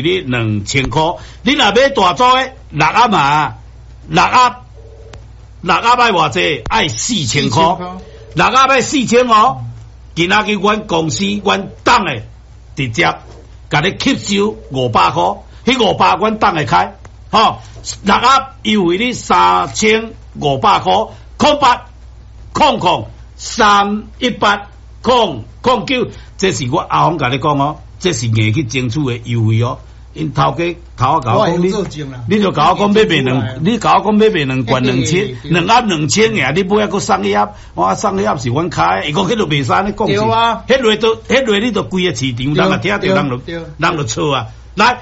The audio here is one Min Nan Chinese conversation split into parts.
你2000箍。你若買大組的六盒嘛，六盒六盒愛偌濟？愛4000箍，六盒愛四千哦。今仔日阮公司阮黨的直接共你吸收500箍，彼五百阮黨會開，吼，六盒優惠你3500箍，0800 00 318 009，這是我阿峰共你講哦，這是硬去爭取的優惠哦。𪜶頭家頭仔共我講，你就共我講欲賣兩，你共我講欲賣兩罐兩千，兩盒兩千爾，你尾仔閣送一盒，我送一盒是阮開，伊講彼就袂使按呢講，彼落都彼落你都規个市場，人若聽著人就錯啊。來，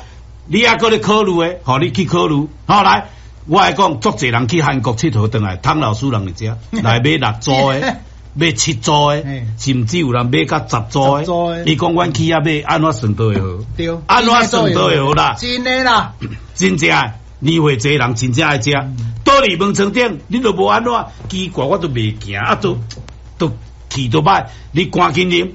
你猶閣咧考慮的，予你去考慮。好來，我來講，足濟人去韓國𨑨迌轉來，湯老師人佇遮來買六組的。買七組的，甚至有人買甲10組的。伊講阮去遐買，按怎算都會好？按怎算都會好啦。真的啦，真正年歲濟人真正愛食。倒佇門床頂，你都無按怎奇怪，我都袂行啊，都氣都歹。你趕緊啉，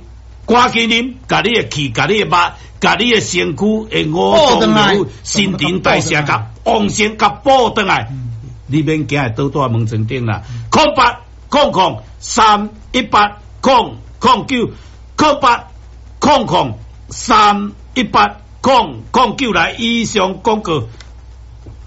趕緊啉，共你的氣，共你的肉，共你的身軀的五臟六腑、新陳代謝共旺盛，共補轉來。你免驚會倒佇門床頂啦。0800 0318 009，0800 0318 009來。以上廣告。